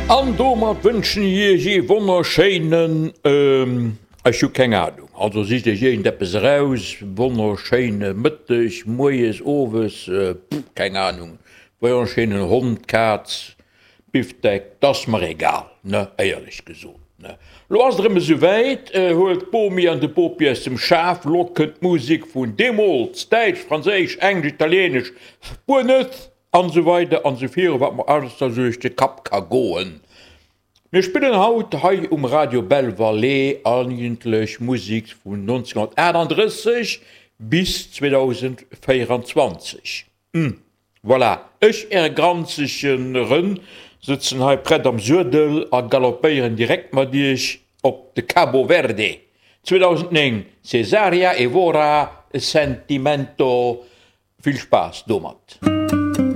An domat wënschen ech iech ee wonnerschéinen, ech hu keng Ahnung, also sicht iech iergendeppes eraus, wonnerschéine Mëtteg, Moies, Owes, keng Ahnung, wonnerschéinen Hond, Kaz, Bifdeck, 't ass mer egal, ne, éierlech gesot, ne. Lo ass et erëm esou wäit, huelt d'Bomi an de Bopi aus dem Schaf, lo kënnt d'Musek vun deemools, däitsch, franséisch, englesch, italienesch, spuenesch, An esou weider an esou viru wat mer alles da sou duerch de Kapp ka goen. Mir spillen haut hei um Radio Belle Vallée eigentlech Musek vun 1938 bis 2024. Hm, voilà, ech, Äre granzege Rënn, sëtzen hei prett am Suedel a galoppéieren direkt mat Iech op de Cabo Verde. 2009, Cesaria Evora, Sentimento. Vill Spaass domat!